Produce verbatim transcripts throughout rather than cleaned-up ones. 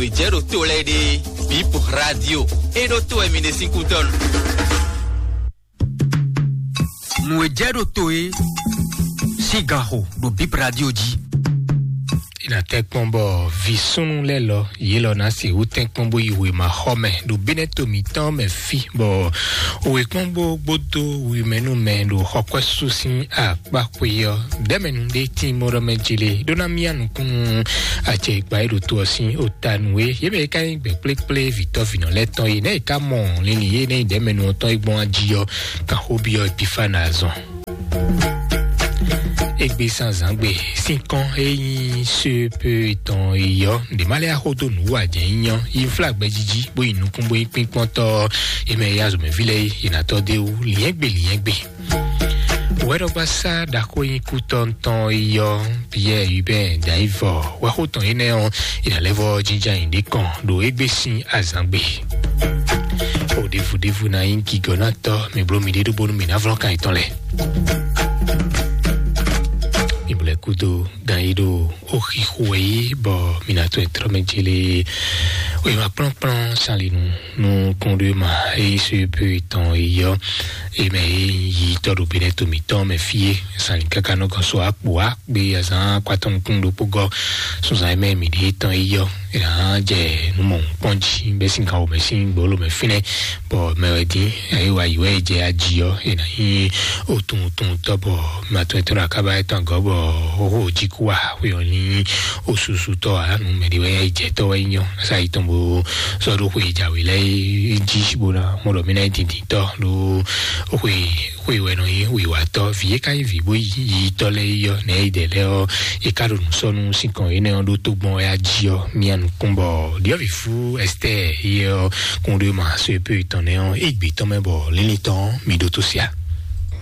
Nǔ e jɛ ɖo to lɛ́ɛ ɖe, Bip Radio. É ɖó to wɛ mi ɖe sín kútɔ́nu. Nǔ e jɛ ɖo to é sín ganxo ɖo Bip Radio jí. Ina tɛkpɔn bɔ vi súnnu lɛ́ɛ lɔ yě lɔ ná se wú tɛkpɔn bó yi wěma xɔ mɛ ɖo bínɛ́ to mǐtɔn mɛ fí, bɔ wěkpɔ́n bó gbódó wimɛnú mɛ ɖo xɔkwɛ́sú sín akpá xwe ɔ́. Dɛmɛnu ɖé tín mɔ ɖɔ mɛ jele ɖó ná mía nukúnnú acɛ ikpa e ɖo to ɔ́ sín ota nú é. Yě mɛ e ka nyí gbɛ̌ kplékplé vǐtɔ́vinɔ lɛ́ɛ tɔn é, nɛ́ è ka mɔ linlin yé nɛ́ nyí dɛmɛnu ɔ́ tɔn é gbɔn ají ɔ́, kan xó byɔ́ Epifana azɔn. Égbé sán zǎngbe sín kɔn e nyí sépé tɔn yi ɔ́, ɖě má lɛ́ axó dó nǔ wa jɛ̌ nyí ɔ́, yi flágbɛ́ jíjí bó yi nukún bó nyí kpínkpɔ́ntɔ́. Yě mɛ e azɔ̌mɛví lɛ́ɛ é, è nǎ tɔ́ dó é wú liɛ́ngbè liɛ́ngbè. Wɛɖɔgbasá ɖaxó nyí kútɔ́ntɔn yi ɔ́, Pierre Hubert Daivɔ wɛxó tɔn énɛ́ ɔ́, è nǎ lɛ́ vɔ jínjɔ́n ayǐ ɖé kɔn ɖo égbé sín azǎngbe. O ɖěvúɖévú ná nyí gigɔ̌nátɔ́, mi bló miɖée ɖó bónú mi ná vlɔ́n kan yětɔn lɛ́ɛ. Mi blɛ́ kúdó gan yi ɖo ó xixo wɛ yí bɔ mi ná tɔn tlɔ́ mɛ jélé. Wěma kplɔ́nkplɔ́n sálinu nú kúnɖéma e nyí só e pé tɔn yi ɔ́, e mɛ e yi tɔ́ ɖo Benɛto mǐtɔn mɛ fí é, sálin káká nɔ gɔn so akpo á gbe azǎn akpatɔn nukún ɖokpó gɔ́ sunzan e mɛ mǐ ɖe tɔn yi ɔ́, è nǎ jɛ nǔ mɔ̌hunkpɔ́n jí bɛ́ sín gan wǒ mɛ sín gbǒló mɛ fínɛ́, bɔ mɛ wɛ dín, eye wa yi wɛ e jɛ aji ɔ́, è nǎ nyí otun otun tɔ́ bɔ matɔn etɔ́ ɖo akába etɔn agɔ̌ bɔ xóxó jí kú wa xwe ɔ́ ní osusutɔ́ ǎ, nǔ mɛ ɖé wɛ jɛ tɔ́ wɛ nyí ɔ́, sa yi tɔn bó sɔ́ ɖó xwe jǎwe lɛ́ɛ jí bó ná mɔ ɖɔ mí ná nyí dǐndíntɔ́ ɖó xwe xwe wɛ nɔ nyí wǐwatɔ́, vǐ e ka nyí vǐ bó yi yitɔ́ lɛ́ɛ yi ɔ́, nɛ̌ yi dɛ lɛ́ɛ ɔ́, e ka ɖo nǔ sɔ́ nú sín kɔn énɛ́ ɔ́ ɖó tógbɔn wɛ a jí ɔ́, mía nukún bɔ ɖyɔ̌vǐ fú Ɛstɛ́ɛ yɛ ɔ́ kún ɖó ma so e pé tɔn nɛ́ ɔ́, é gbě tɔn mɛ bɔ línlín tɔn mi ɖótó sia.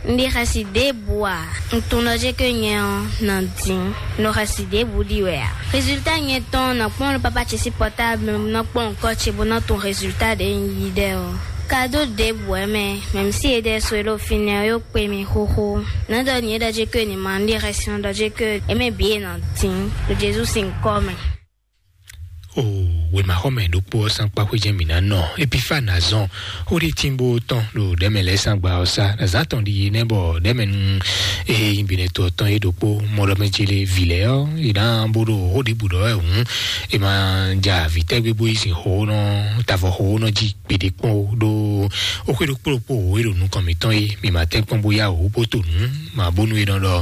Un ɖi xɛsi ɖěbǔ ǎ. Un tunwun ɖɔ jé ko nyɛ ɔ́ nɔ dín. Un ɖo xɛsi ɖěbǔ ɖi wɛ ǎ. Résultat nyɛ tɔn nɔ kpɔ́n ɖo pápá ce sín portable, nɔ kpɔ́n nǔkɔ ce bó nɔ tunwun résultat ɖě un yí ɖɛ ɔ́. Kado ɖěbǔ wɛ mɛ, mɛ̌mísí e ɖɛ́ so e ɖo fínɛ́ ɔ́ yó kpe mi xóxó. Nɛ̌ ɖɔ nyɛ ɖɔ jé ko ni ma un ɖi xɛsi nɔ ɖɔ jé ko é mɛ bǐ e nɔ dín ɖo Jezu sín nyǐkɔ mɛ. O wěmaxɔmɛ ɖokpó ɔ́ sán kpá xwé jɛ́n mǐ ná nɔ Epifána zɔn xó ɖé tínbó tɔn ɖo ɖɛ̌mɛ lɛ́ɛ sán gba ɔ́ sá. Azǎn tɔn ɖi nɛ́ bɔ ɖɛ̌mɛ nú e nyí binɛto ɔ́ tɔn é ɖokpó mɔ ɖɔ mɛ ce lé vǐ lɛ́ɛ ɔ́, è nǎ bó ɖo xó ɖěbǔ ɖɔ wɛ hǔn, è ma ja vǐ tɛ́gbé bó yi sin xó nɔ tavɔ xó nɔ jí gbeɖé kpɔ́n ó. Ɖó ó xwé ɖokpó ɖokpó wǒ e ɖo nukɔn mǐtɔn é, mǐ ma tɛ́n kpɔ́n bó yá wǒ bó to nǔ. Ma bónú è nɔ ɖɔ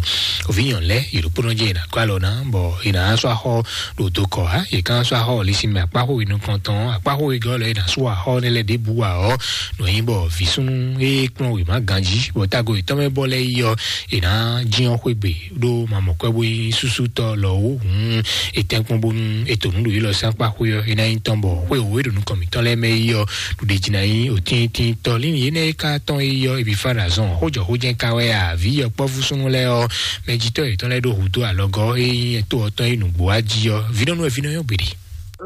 òvǐnyɔn lɛ́ɛ yě ɖokpónɔ jɛ è nǎ gɔ́ alɔ ná, bɔ è nǎ sɔ́ axɔ ɖo dokɔ ǎ. È ká sɔ́ axɔ lisi mɛ akpáxó e nukɔntɔn akpáxó e gɔ́ lɔ è nǎ sú axɔ nɛ́ lɛ́ɛ ɖěbǔ ǎ ɔ́, nɔ nyí bɔ vǐ súnnu e kplɔ́n wěma ganjí bɔ tágo yětɔn mɛ bɔ lɛ́ɛ yi ɔ́, è nǎ jyɔ́n xwé gbe ɖó ma mɔ kwɛ́ bó nyí súsútɔ́ lɔ wǒ hǔn, è tɛ́nkpɔ́n bónú è to nǔ ɖo yě lɔ sín akpáxó ɔ́, é ná nyí tɔn bɔ xwé wǒ e ɖo nukɔn mǐtɔn lɛ́ɛ mɛ yi ɔ́, ɖuɖéjínayí òtíntínntɔ́ lín yě nɛ́ e ka tɔn e yɔ Epifana zɔn xójɔxójɛ́n ka wɛ a? Vǐ yɔkpɔ́vú súnnu lɛ́ɛ ɔ́, mɛjitɔ́ yětɔn lɛ́ɛ ɖó hǔdó alɔgɔ́ e nyí to ɔ́ tɔn e nǔgbó wá jí ɔ́, vǐnɔ́nú wɛ vínɔ nyɔ́ gbeɖé.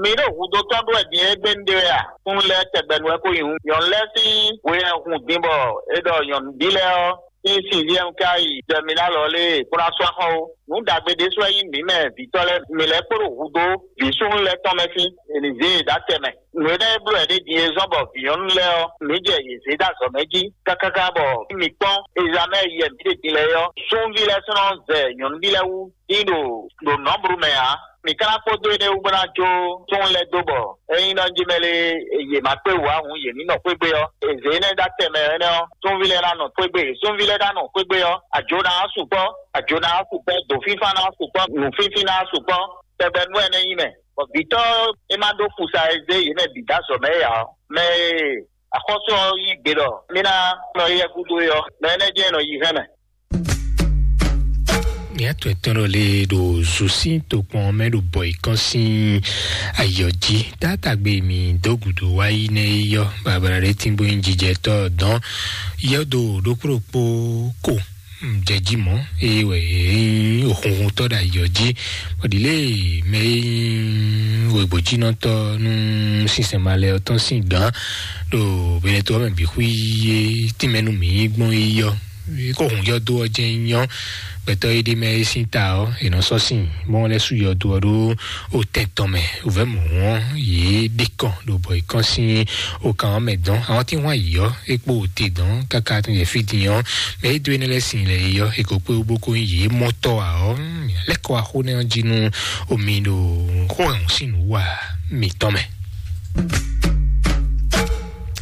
Mi ɖo hudó tɔn ɖó wɛ din e gbé un ɖe wɛ a? Súnnu lɛ́ɛ tɛgbɛ nu wɛ ko nyi hǔn. Nyɔ̌nu lɛ́ɛ sín hwe wɛ hun din bɔ é ɖɔ nyɔ̌nuví lɛ́ɛ ɔ́ sín sixième ka yi jɛ mi ná lɔ lé kó ná sú axɔ ó. Nǔ ɖagbe ɖésú wɛ nyí mǐ mɛ vǐtɔ́ lɛ́ɛ, mǐ lɛ́ kpo ɖo hudó vǐ súnnu lɛ́ɛ tɔn mɛ sín, è nǐ zé yě dó atɛ mɛ. Nǔ énɛ́ e bló wɛ ɖé din e zɔ́n bɔ vǐnyɔ́nú lɛ́ɛ ɔ́, mǐ jɛ yě zé ɖó azɔ̌mɛ jí kákáká bɔ mǐ kpɔ́n ezamɛ yɛ mǐ ɖe din lɛ́ɛ ɔ́, súnví lɛ́ɛ sɔ́ nɔ zɛ nyɔ̌nuví lɛ́ɛ wú dín ɖo ɖo nɔ̌blu mɛ ǎ. Mǐ ka ná kpódó énɛ́ wú bó ná jó súnnu lɛ́ɛ dó bɔ ényí nɔ jí mɛ lé yě ma kpé wǔ ǎ hǔn yě ní nɔ xwé gbé ɔ́, è zě énɛ́ ɖó atɛ mɛ énɛ́ ɔ́, súnví lɛ́ɛ ná nɔ xwé gbé, súnví lɛ́ɛ ná nɔ xwé gbé ɔ́, ajo ná wá sukpɔ́, ajo ná wá sukpɔ́, dǒfínfán ná wá sukpɔ́, nǔfínfín ná wá sukpɔ́, tɛgbɛ nú ɛnɛ́ nyí mɛ. Bɔ vǐtɔ́ e ma ɖó fusa e zé yě mɛ bǐ dó azɔ̌ mɛ é ǎ ɔ́, mɛ e axɔ́sú ɔ́ yí gbe ɖɔ mí ná nɔ yɛ gúdo é ɔ́, mɛ énɛ́ jɛ́n nɔ yi hɛn mɛ. Ní atɔ́ etɔ́n ɖɔ lé ɖo zosín tokpɔn mɛ ɖo bɔ ikɔn sín ayɔ jí. Tátagbe mi dó gǔdo wá yi nɛ yɔ babala ɖé tíngbó nyí jijɛtɔ́ dɔn yɔdo ɖokpó ɖokpó ko jɛjí mɔ̌, eye wɛ nyí òxunxuntɔ́ ɖo ayɔ jí. Bɔ ɖi lé mɛ e nyí wegbojínɔtɔ́ nú sinsɛn malɛ ɔ́ tɔn sín gǎn ɖo Benɛto ɔ́ mɛ bǐ xwí yé tínmɛ nú mǐ gbɔn yi ɔ́, kó hun yɔdo ɔ́ jɛ́n nyɔ́. gbɛtɔ́ e ɖ'é mɛ é sín ta ɔ́, è nɔ sɔ́ sin bɔ wọ́n lɛ́ sú yɔdo ɔ́ ɖó o tɛn tɔn mɛ. O vɛ̌ mɔ̌ ɔ́, yě ɖe kɔn ɖo bɔ è kɔn sín o kan ɔ́ mɛ dɔn. Àwọn tí wọ́n ayǐ ɔ́, é kpó o te dɔn káká tɔn yɛ fí din ɔ́, mɛ é dó énɛ́ lɛ́ɛ sin lɛ é ɔ́, è ko kpé bó ko nyí yě mɔtɔ́ ǎ ɔ́, lɛ́ kɔ wá xó nɛ́ ɔ́ jí nú omi ɖo xó hɛn sín nǔ wa mǐtɔn mɛ.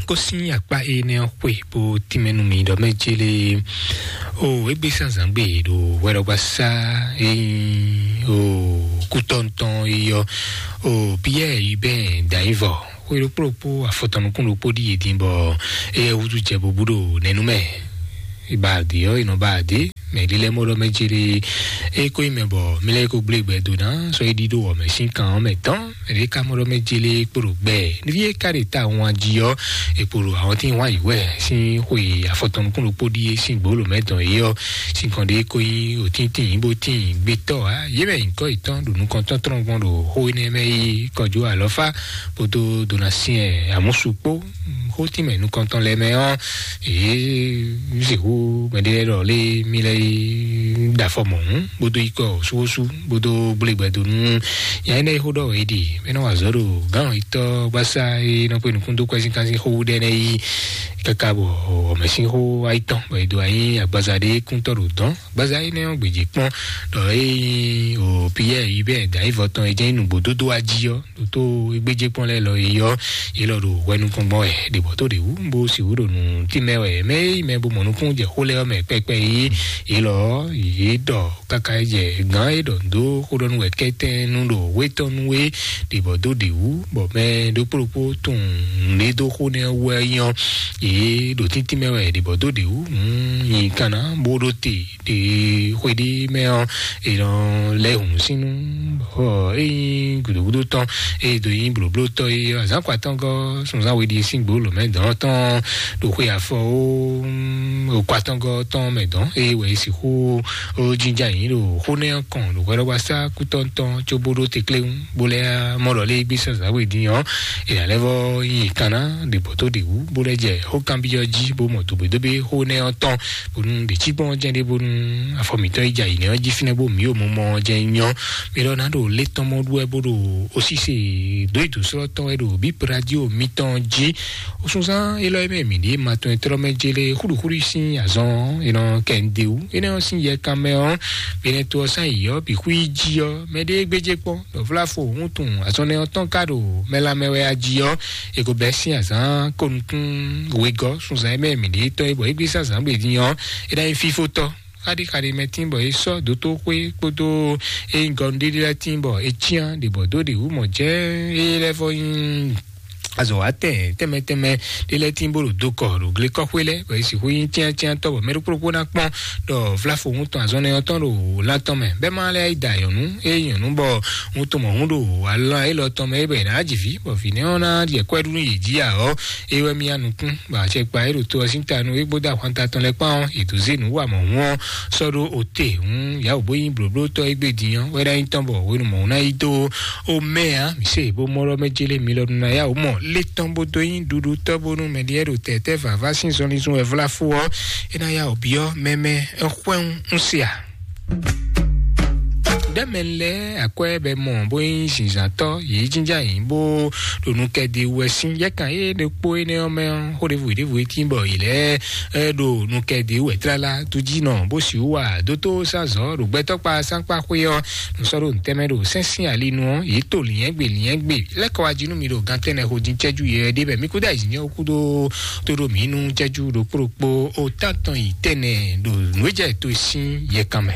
Kó sín akpá énɛ́ ɔ́ xwe bó tínmɛ nú mi ɖɔ mɛ jélé o égbé sánzán gbé ɖo hwɛɖɔgbasá e nyí o kútɔ́ntɔn e yɔ o Piyɛ́ɛ yi bɛn dǎnyívɔ xwe ɖokpó ɖokpó afɔtɔn nukún ɖokpó ɖíe dín bɔ éyɛ́ wútu jɛ bobú ɖo nɛnú mɛ. Ìbàdí ɔ́, ìnɔbàdí mɛ lílɛ́ mɔɖɔ mɛ jélé é kó nyí mɛ bɔ mí lɛ́ kó gblé gbɛ dó ná sɔ é ɖíɖó wɔ mɛ sín kan ɔ́ mɛ tɔn. Mɛ ɖé ká mɔɖɔ mɛ jélé kpóɖo gbɛ níví é ká ɖe ta wọn jí ɔ́, è kpóɖo àwọn tí wọ́n ayǐ wɛ sín xwe afɔtɔn nukún ɖokpó ɖíe sín gbǒlò mɛ dɔn é ɔ́, sín kɔn ɖé kó nyí òtíntín bó tín gbétɔ́ ǎ. Yě mɛ nyǐkɔ yětɔn ɖo nukɔntɔn tɔn gbɔn ɖo xó énɛ́ mɛ yí kɔjó alɔfá kpódó donasyɛn amúsu kpó xótínmɛ nukɔntɔn lɛ́ɛ mɛ ɔ́, èé sixú mɛɖé lɛ́ɛ ɖɔ lé mí lɛ́ɛ yi ɖo afɔ mɔ̌hún bódó yi kɔ súwósú bódó gblé gbɛdó nú nya énɛ́ e xó ɖɔ wɛ é ɖe mɛ nɔ wa azɔ̌ ɖo gǎn yítɔ́ gbásá e nɔ kpé nukún dó kwɛ́ sín kán sín xó wú ɖɛ nɛ́ yí káká bɔ ɔmɛ sín xó ayítɔn bɔ è dó anyi agbaza ɖé kúntɔ́ ɖo dɔn. Gbaza énɛ́ ɔ́ gbèjì kpɔ́n ɖɔ é nyí o Piyɛ́ɛ yi bɛ́ dǎnyívɔ tɔn e jẹ́ nǔgbó dódó wá jí ɔ́ ɖo tó égbéjé kpɔ́n lɛ́ɛ lɔ é yɔ é lɔ ɖo hwɛ nukɔn gbɔn wɛ ɖě bɔ tó ɖě wú bó sixú ɖo nǔ tínmɛ wɛ mɛ é yi mɛ bó mɔ nukún jɛ xó lɛ́ɛ ɔ́ mɛ kpɛkpɛ yí é lɔ yě ɖɔ káká jɛ gǎn é ɖɔ dó xó ɖɔ nú wɛ kɛ́tɛ́ nú ɖo wétɔ́ nú é ɖě bɔ dó ɖě wú bɔ mɛ ɖokpó ɖokpó tunwun nǔɖé dó xó nɛ́ wú wɛ nyɔ yě ɖo tíntín mɛ wɛ ɖě bɔ dó ɖě wú nyi kanna bó ɖó te ɖe xwe ɖé mɛ ɔ́, è nɔ lɛ́ hǔn sínú bɔ é nyí gǔdógúdó tɔn é do nyí blǒblótɔ́ é azǎn kɔ atɔ́ngɔ́ sunzán we ɖi sín gbǒ lǒ mɛ dɔn tɔn ɖo xwe afɔ ó okɔ atɔ́ngɔ́ tɔn mɛ dɔn é wɛ é sixú ó jínjá yǐ ɖo xó nɛ́ ɔ́ kɔn ɖo hwɛɖɔgbasá kútɔ́ntɔn có bó ɖó te kléwún bó lɛ́ mɔ ɖɔ lé gbé sɛ́n zǎwe dín ɔ́, è nǎ lɛ́ vɔ́ nyi kanná ɖě bɔ tó ɖě wú bó lɛ́ jɛ xó kanbyɔ́ jí bó mɔ dǒgbédógbé xó nɛ́ ɔ́ tɔn bónú ɖě cí gbɔn jɛ́n ɖé bónú afɔ mǐtɔn yi jɛ ayǐ nɛ́ ɔ́ jí fínɛ́ bó mǐ o mɔ mɔ jɛ nyɔ. Mi lɔ ná ɖo lé tɔn mɔ ɖu wɛ bó ɖo osíse dó yi dǒ sɔ́ tɔn wɛ ɖo bíp radio mitɔn jí. Osunzán élɔ́ e mɛ mǐ ɖě ma tɔn e tlɔ́ mɛ jélé xúɖuxúɖu sín azɔn e nɔ kɛ ń de wú énɛ́ ɔ́ sín yɛ kan mɛ ɔ́, benɛ to ɔ́ sán yǐ ɔ́ bǐ xwí jí ɔ́ mɛ ɖé gbéjé kpɔ́n ɖɔ vlá fo hǔn tunwun azɔn nɛ ɔ́ tɔn ka ɖo mɛ lanmɛ wɛ a jí ɔ́, è ko bɛ́ sín azǎn ko nukún wegɔ́ sunzan e mɛ mǐ ɖě tɔ́ é bɔ é gbé sín azǎn gbe dín ɔ́, é ná nyí fífótɔ́ xaɖíxaɖí mɛ tín bɔ é sɔ́ dótóxwé kpódó é nyí gɔnu ɖéɖé lɛ́ɛ tín bɔ é cyán ɖě bɔ dó ɖě wú mɔ jɛ́n é lɛ́ vɔ nyí azɔ̌ wa tɛn tɛnmɛ tɛnmɛ ɖé lɛ́ɛ tín bó ɖo dó kɔ ɖo glekɔxwé lɛ́ɛ bɔ é sixú nyí cyáncyántɔ́ bɔ mɛ ɖokpó ɖokpó ná kpɔ́n ɖɔ vláfo ŋutɔn azɔn nɛ ɔ́ tɔn ɖo lan tɔn mɛ bɛ́ má lɛ́ɛ yi da nyɔ̌nu é nyɔ̌nu bɔ ŋutɔn mɔ hún ɖo alán élɔ́ tɔn mɛ é bɔ è nǎ ji vǐ bɔ vǐ nɛ́ ɔ́ ná ɖi kwɛ́ ɖú nú yě jí ǎ ɔ́, é wɛ mì ya nukún bɔ acɛkpa é ɖo to ɔ́ sín ta nú égbó dó ahwan ta tɔn lɛ́ɛ kpán ɔ́, è dǒ zé nǔ wa mɔ̌ hún ɔ́ sɔ́ ɖó ote hún yǎwǔ bó nyí blǒblótɔ́ égbé din ɔ́ wɛ ná nyí tɔn bɔ hwenu mɔ̌ ná yi dó ó mɛ ǎ. Mǐ se bó mɔ ɖɔ mɛ jélé mi lɔ nú ná yáwǔ mɔ lé tɔn bó dó nyí ɖuɖutɔ́ bónú mɛɖiɛ ɖo tɛ̌tɛ́ vǎvá sín zɔnlin zun wɛ vlá fó ɔ́, é ná yáwǔ byɔ́ mɛmɛ xwɛ́n un se a? Ɖɛ́mɛ lɛ́ɛ akwɛ́ bɛ mɔ bó nyí zinzǎntɔ́ yě jínjá yǐ bó ɖo nukɛdi wɛ sín yɛ́kan yé ɖokpó énɛ́ ɔ́ mɛ ɔ́, xó ɖěvo ɖěvo é tín bɔ yě lɛ́ɛ ɖo nukɛdi wɛ tlala dújínɔ bó sixú wa dótó sázɔ̌ ɖo gbɛtɔ́kpa sánkpa xwé ɔ́, nǔ sɔ́ ɖo ntɛ́mɛ ɖo sɛ́n sín ali nu ɔ́, yě to lǐnyɛ́gbe lǐnyɛ́gbe lɛ́ kɔ wá jí nú mi ɖo gan tɛ́nnɛ xo dín cɛ́jú yɛ ɖé bɛ mí kúdó ayǐjínjɛ́n kúdó tó ɖo mǐ nú cɛ́jú ɖokpó ɖokpó ó tántɔn yi tɛ́nnɛ ɖo nǔ e jɛ to sín yɛkan mɛ.